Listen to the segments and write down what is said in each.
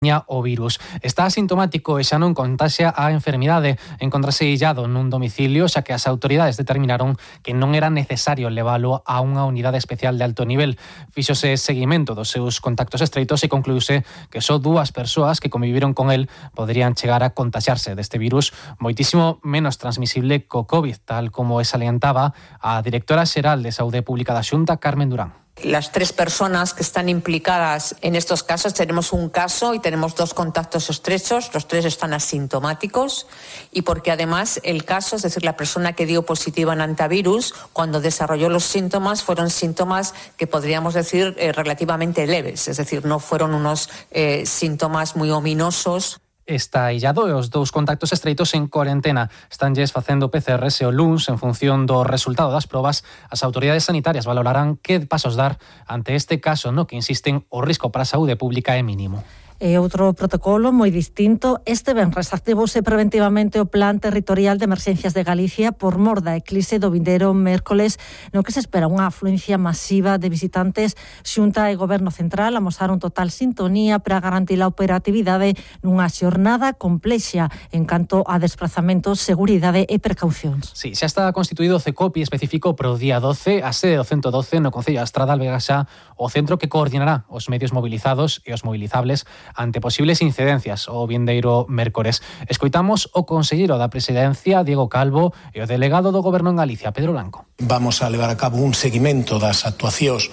o virus. Está asintomático e xa non contaxia a enfermidade. Encontrase illado nun domicilio, xa que as autoridades determinaron que non era necesario leválo a unha unidade especial de alto nivel. Fíxose seguimento dos seus contactos estreitos e concluíse que só 2 persoas que conviviron con el poderían chegar a contaxarse deste virus moitísimo menos transmisible co COVID, tal como salientaba a directora xeral de Saúde Pública da Xunta, Carmen Durán. Las 3 personas que están implicadas en estos casos, tenemos un caso y tenemos 2 contactos estrechos, los 3 están asintomáticos y porque además el caso, es decir, la persona que dio positiva en antivirus, cuando desarrolló los síntomas, fueron síntomas que podríamos decir relativamente leves, es decir, no fueron unos síntomas muy ominosos. Está illado e os 2 contactos estreitos en cuarentena. Estánlles facendo PCRs e o luns, en función do resultado das probas, as autoridades sanitarias valorarán que pasos dar ante este caso no que insisten o risco para a saúde pública é mínimo. E outro protocolo moi distinto. Este venres activouse preventivamente o Plan Territorial de Emerxencias de Galicia por mor da eclise do vindeiro mércoles, no que se espera unha afluencia masiva de visitantes. Xunta e Goberno Central amosaron total sintonía para garantir a operatividade nunha xornada complexa en canto a desplazamentos, seguridade e precaucións. Sí, xa está constituído o CECOPI específico para o día 12, a sede do 112 no Concello da Estrada alberga xa o centro que coordinará os medios movilizados e os movilizables ante posibles incidencias o vindeiro mércores. Escoitamos o conselleiro da Presidencia, Diego Calvo, e o delegado do Goberno en Galicia, Pedro Blanco. Vamos a levar a cabo un seguimento das actuacións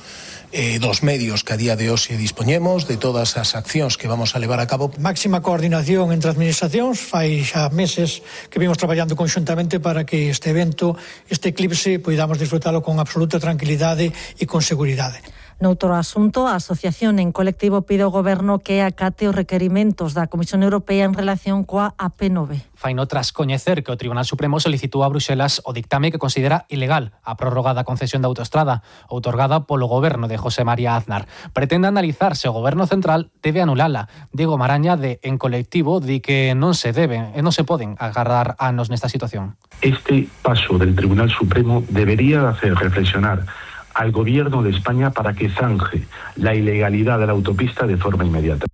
dos medios que a día de hoxe dispoñemos, de todas as accións que vamos a levar a cabo. Máxima coordinación entre administracións, fai xa meses que vimos traballando conxuntamente para que este evento, este eclipse, poidamos disfrutalo con absoluta tranquilidade e con seguridade. Noutro asunto, a Asociación en Colectivo pide ao Goberno que acate os requerimentos da Comisión Europea en relación coa AP9. Faino tras coñecer que o Tribunal Supremo solicitou a Bruxelas o dictame que considera ilegal a prórroga da concesión da autoestrada outorgada polo Goberno de José María Aznar. Pretende analizar se o Goberno Central debe anulala. Diego Maraña, de En Colectivo, di que non se poden agardar anos nesta situación. Este paso del Tribunal Supremo debería hacer reflexionar al Gobierno de España para que zanje la ilegalidad de la autopista de forma inmediata.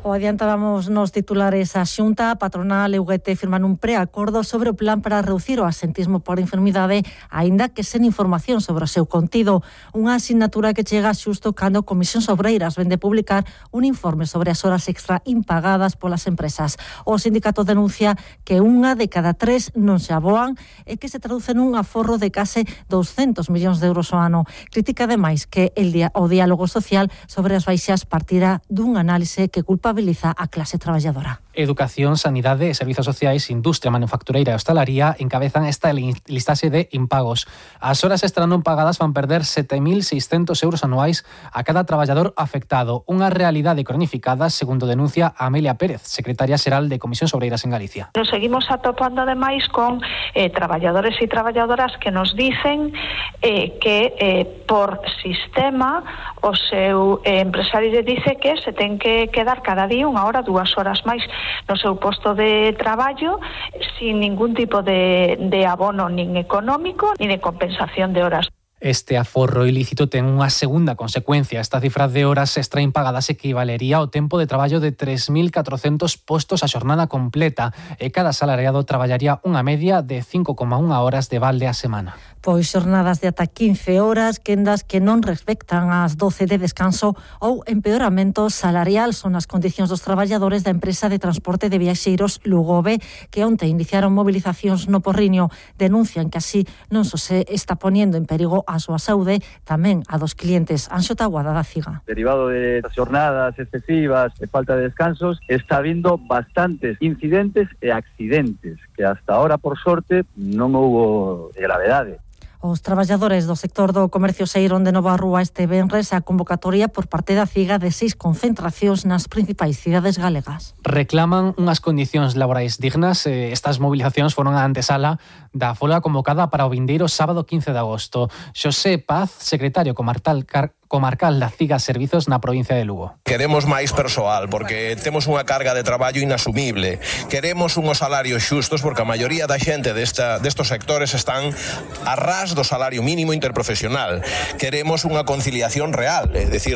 O adiantábamos nos titulares, a Xunta, a patronal e UGT firman un preacordo sobre o plan para reducir o asentismo por enfermidade, aínda que sen información sobre o seu contido. Unha asignatura que chega xusto cando Comisións Obreiras vende publicar un informe sobre as horas extra impagadas polas empresas. O sindicato denuncia que 1 de cada 3 non se aboan e que se traduce nun aforro de case 200 millóns de euros ao ano. Critica ademais que o diálogo social sobre as baixas partirá dun análise que culpabiliza a clase traballadora. Educación, Sanidade e Servizos Sociais, Industria, Manufactureira e Hostalaría encabezan esta listaxe de impagos. As horas extra non pagadas van perder 7.600 euros anuais a cada traballador afectado. Unha realidade cronificada, segundo denuncia Amelia Pérez, secretaria xeral de Comisións Obreiras en Galicia. Nos seguimos atopando ademais con traballadores e traballadoras que nos dicen que por sistema o seu empresario dice que se ten que quedar cada día 1 hora, 2 horas máis no seu posto de traballo sin ningún tipo de abono nin económico nin de compensación de horas. Este aforro ilícito ten unha segunda consecuencia. Esta cifra de horas extra impagadas equivalería ao tempo de traballo de 3.400 postos a xornada completa e cada asalariado traballaría unha media de 5,1 horas de balde a semana. Pois xornadas de ata 15 horas, quendas que non respectan as 12 de descanso ou empeoramento salarial son as condicións dos traballadores da empresa de transporte de viaxeiros Lugobe, que onte iniciaron movilizacións no Porriño. Denuncian que así non só se está poniendo en perigo a súa saúde, tamén a dos clientes. Anxo Taguada da CIGA. Derivado de xornadas excesivas e falta de descansos, está habiendo bastantes incidentes e accidentes, que hasta ahora, por sorte, non houbo gravedade. Os traballadores do sector do comercio saíron de novo á rúa este venres a convocatoria por parte da CIGA de 6 concentracións nas principais cidades galegas. Reclaman unhas condicións laborais dignas. Estas movilizacións foron a antesala da folga convocada para o vindeiro sábado 15 de agosto. Xosé Paz, secretario comarcal da CIGA Servizos na provincia de Lugo. Queremos máis persoal porque temos unha carga de traballo inasumible. Queremos unhos salarios xustos porque a maioría da xente destos sectores están a ras do salario mínimo interprofesional. Queremos unha conciliación real, é dicir,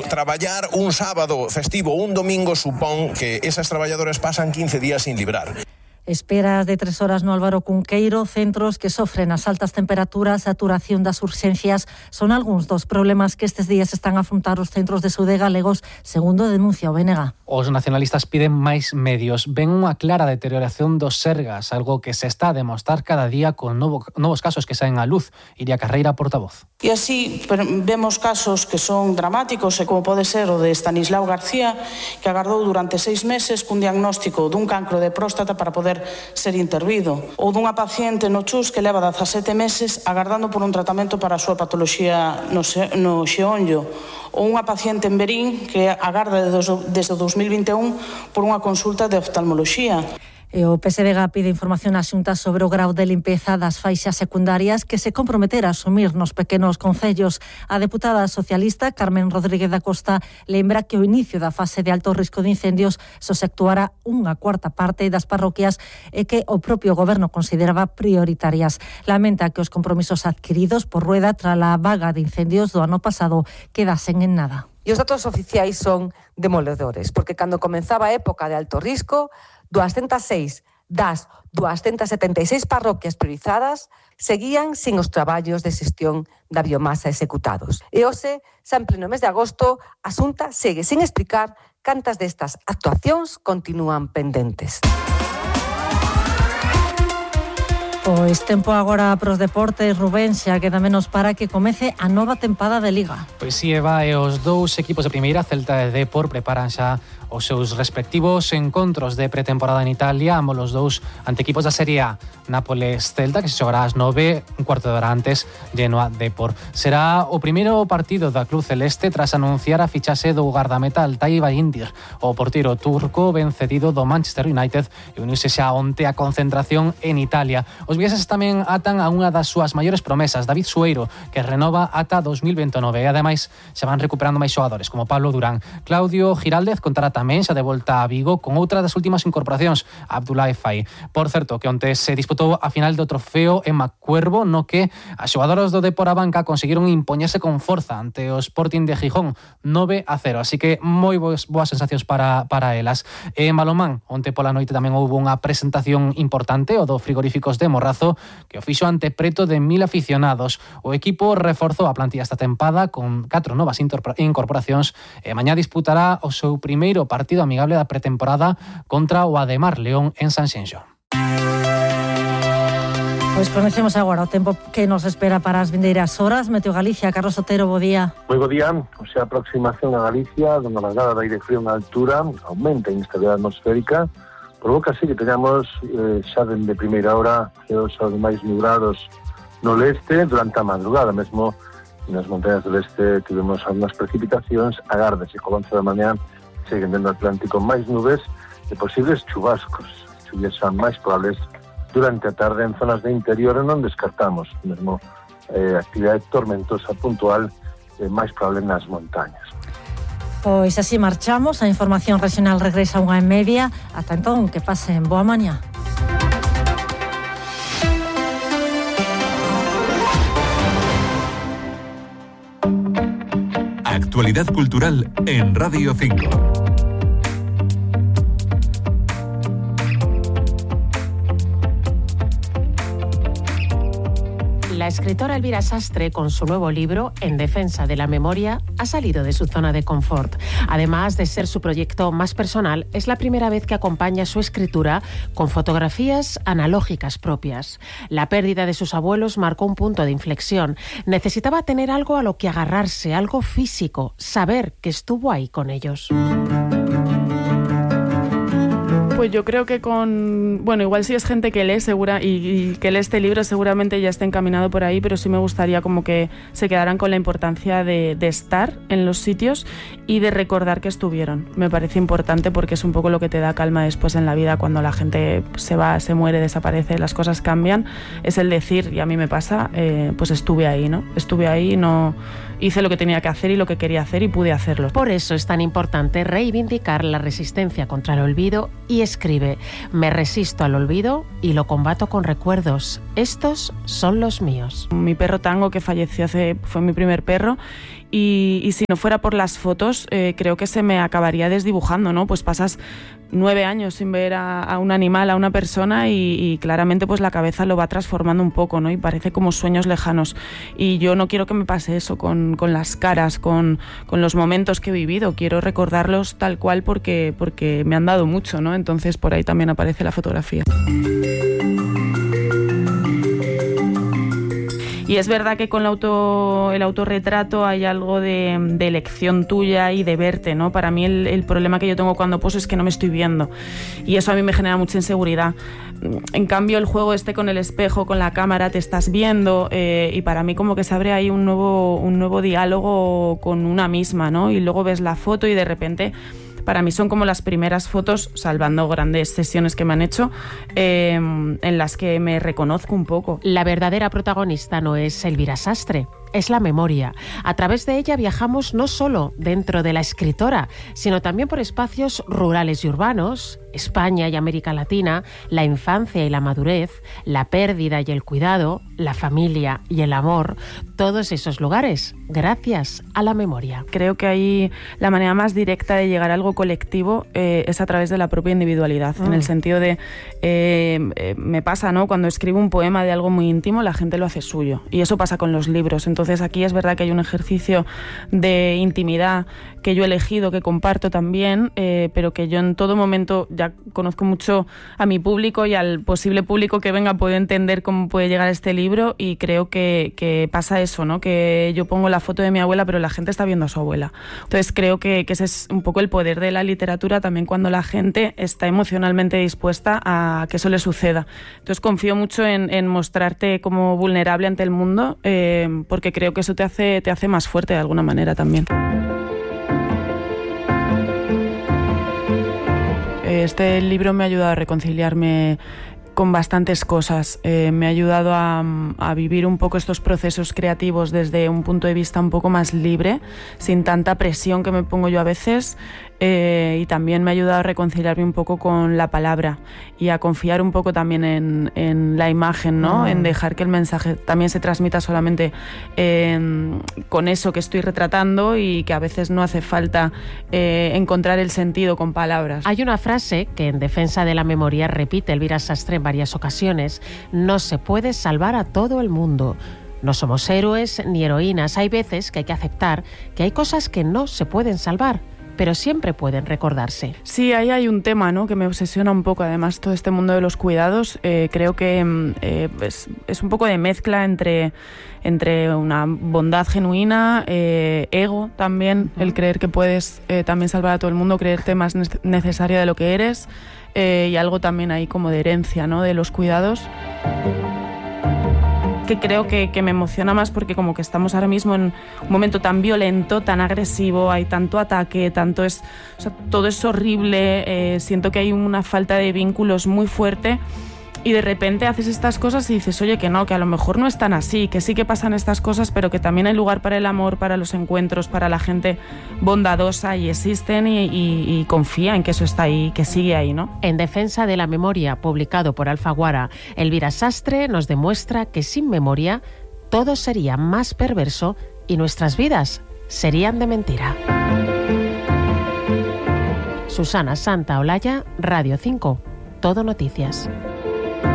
traballar un sábado festivo, un domingo supón que esas traballadoras pasan 15 días sin librar. Esperas de 3 horas no Álvaro Cunqueiro, centros que sofren as altas temperaturas, saturación das urxencias, son algúns dos problemas que estes días están a afrontar os centros de saúde galegos, segundo denuncia o BNG. Os nacionalistas piden máis medios. Ven unha clara deterioración dos sergas, algo que se está a demostrar cada día con novos casos que saen á luz. Iria Carreira, portavoz. E así vemos casos que son dramáticos, como pode ser o de Estanislao García, que agardou durante 6 meses cun diagnóstico dun cancro de próstata para poder ser intervido, ou dunha paciente no Chus que leva 17 meses agardando por un tratamento para a súa patoloxía no xeonllo, ou unha paciente en Berín que agarda desde o 2021 por unha consulta de oftalmoloxía. E o PSDG pide información á Xunta sobre o grau de limpeza das faixas secundarias que se comprometera a asumir nos pequenos concellos. A deputada socialista Carmen Rodríguez da Costa lembra que o inicio da fase de alto risco de incendios só se actuará unha cuarta parte das parroquias e que o propio goberno consideraba prioritarias. Lamenta que os compromisos adquiridos por Rueda tras a vaga de incendios do ano pasado quedasen en nada. E os datos oficiais son demoledores, porque cando comenzaba a época de alto risco, 206 das 276 parroquias priorizadas seguían sin os traballos de xestión da biomasa executados. E hoxe, xa en pleno mes de agosto, a Xunta segue sin explicar cantas destas actuacións continúan pendentes. Pois tempo agora pros deportes, Rubén, xa queda menos para que comece a nova tempada de Liga. Pois si, Eva, e os dous equipos de primeira, Celta e Depor, preparan xa os seus respectivos encontros de pretemporada en Italia, ambos os dous ante equipos da Serie A. Nápoles-Celta, que se xogará ás 9, un cuarto de hora antes, Genoa-Depor. Será o primeiro partido da Club Celeste tras anunciar a fichaxe do gardameta Altay Bayindir. O porteiro turco ben cedido do Manchester United e uniuse xa onte a concentración en Italia. Os vigueses tamén atan a unha das súas maiores promesas, David Sueiro, que renova ata 2029 e ademais xa van recuperando máis xogadores como Pablo Durán. Claudio Giraldez contará tamén xa de volta a Vigo con outra das últimas incorporacións, Abdoulaye Faye. Por certo, que onte se disputou a final do trofeo en Macuervo, no que as xogadoras do Depor a banca conseguiron impoñerse con forza ante o Sporting de Gijón 9-0, así que moi boas sensacións para elas. En balonmán, onte pola noite tamén houve unha presentación importante, o do Frigoríficos de Morrazo, que o fixo ante preto de 1000 aficionados. O equipo reforzou a plantilla esta tempada con 4 novas incorporacións e mañá disputará o seu primeiro partido amigable da pretemporada contra o Ademar León en Sanxenxo. Pois conocemos agora o tempo que nos espera para as vindeiras horas. Meteo Galicia, Carlos Otero, bo día. Moi bo día. O sea, a aproximación a Galicia, donde a largada da aire frío na altura, aumenta a inestabilidade atmosférica, provoca así que teñamos xa dende primeira hora os máis nubrados no leste durante a madrugada. Mesmo nas montañas do leste tivemos algunhas precipitacións, agárdase co avance da mañá seguen dentro do Atlántico máis nubes e posibles chubascos. Chuvias son máis probables durante a tarde en zonas de interior e non descartamos mesmo actividade tormentosa puntual máis probable nas montañas. Pois así marchamos, a información regional regresa 1:30. Ata entón, que pasen boa mañá. Actualidad cultural en Radio 5. La escritora Elvira Sastre, con su nuevo libro, En defensa de la memoria, ha salido de su zona de confort. Además de ser su proyecto más personal, es la primera vez que acompaña su escritura con fotografías analógicas propias. La pérdida de sus abuelos marcó un punto de inflexión. Necesitaba tener algo a lo que agarrarse, algo físico, saber que estuvo ahí con ellos. Pues yo creo que igual si es gente que lee y que lee este libro seguramente ya está encaminado por ahí, pero sí me gustaría como que se quedaran con la importancia de estar en los sitios y de recordar que estuvieron. Me parece importante porque es un poco lo que te da calma después en la vida cuando la gente se va, se muere, desaparece, las cosas cambian. Es el decir, y a mí me pasa, pues estuve ahí, ¿no? Estuve ahí, no hice lo que tenía que hacer y lo que quería hacer y pude hacerlo. Por eso es tan importante reivindicar la resistencia contra el olvido y escribe: me resisto al olvido y lo combato con recuerdos. Estos son los míos. Mi perro Tango, que falleció fue mi primer perro, y si no fuera por las fotos, creo que se me acabaría desdibujando, ¿no? Pues pasas 9 años sin ver a un animal, a una persona, y claramente pues la cabeza lo va transformando un poco, ¿no? Y parece como sueños lejanos. Y yo no quiero que me pase eso con las caras, con los momentos que he vivido. Quiero recordarlos tal cual porque me han dado mucho, ¿no? Entonces por ahí también aparece la fotografía. Y es verdad que con el autorretrato hay algo de elección tuya y de verte, ¿no? Para mí el problema que yo tengo cuando poso es que no me estoy viendo. Y eso a mí me genera mucha inseguridad. En cambio, el juego con el espejo, con la cámara, te estás viendo, y para mí como que se abre ahí un nuevo diálogo con una misma, ¿no? Y luego ves la foto y de repente... Para mí son como las primeras fotos, salvando grandes sesiones que me han hecho, en las que me reconozco un poco. La verdadera protagonista no es Elvira Sastre, es la memoria. A través de ella viajamos no solo dentro de la escritora, sino también por espacios rurales y urbanos, España y América Latina, la infancia y la madurez, la pérdida y el cuidado, la familia y el amor, todos esos lugares, gracias a la memoria. Creo que ahí la manera más directa de llegar a algo colectivo es a través de la propia individualidad, en el sentido de, me pasa, ¿no? Cuando escribo un poema de algo muy íntimo, la gente lo hace suyo, y eso pasa con los libros. Entonces aquí es verdad que hay un ejercicio de intimidad que yo he elegido, que comparto también, pero que yo en todo momento ya conozco mucho a mi público y al posible público que venga puede entender cómo puede llegar a este libro, y creo que pasa eso, ¿no? Que yo pongo la foto de mi abuela, pero la gente está viendo a su abuela. Entonces creo que ese es un poco el poder de la literatura también, cuando la gente está emocionalmente dispuesta a que eso le suceda. Entonces confío mucho en mostrarte como vulnerable ante el mundo, porque creo que eso te hace más fuerte de alguna manera también. Este libro me ha ayudado a reconciliarme con bastantes cosas. Me ha ayudado a vivir un poco estos procesos creativos desde un punto de vista un poco más libre, sin tanta presión que me pongo yo a veces, y también me ha ayudado a reconciliarme un poco con la palabra y a confiar un poco también en la imagen, ¿no? En dejar que el mensaje también se transmita solamente con eso que estoy retratando, y que a veces no hace falta encontrar el sentido con palabras. Hay una frase que en defensa de la memoria repite Elvira Sastre en varias ocasiones: no se puede salvar a todo el mundo. No somos héroes ni heroínas. Hay veces que hay que aceptar que hay cosas que no se pueden salvar, pero siempre pueden recordarse. Sí, ahí hay un tema, ¿no?, que me obsesiona un poco. Además, todo este mundo de los cuidados, creo que es un poco de mezcla entre una bondad genuina, ego también, el creer que puedes también salvar a todo el mundo, creerte más necesaria de lo que eres, y algo también ahí como de herencia, ¿no?, de los cuidados, que creo que me emociona más porque como que estamos ahora mismo en un momento tan violento, tan agresivo, hay tanto ataque, todo es horrible, siento que hay una falta de vínculos muy fuerte, y de repente haces estas cosas y dices, oye, que no, que a lo mejor no es tan así, que sí que pasan estas cosas, pero que también hay lugar para el amor, para los encuentros, para la gente bondadosa, y existen, y confía en que eso está ahí, que sigue ahí, ¿no? En defensa de la memoria, publicado por Alfaguara, Elvira Sastre nos demuestra que sin memoria todo sería más perverso y nuestras vidas serían de mentira. Susana Santaolalla, Radio 5, Todo Noticias.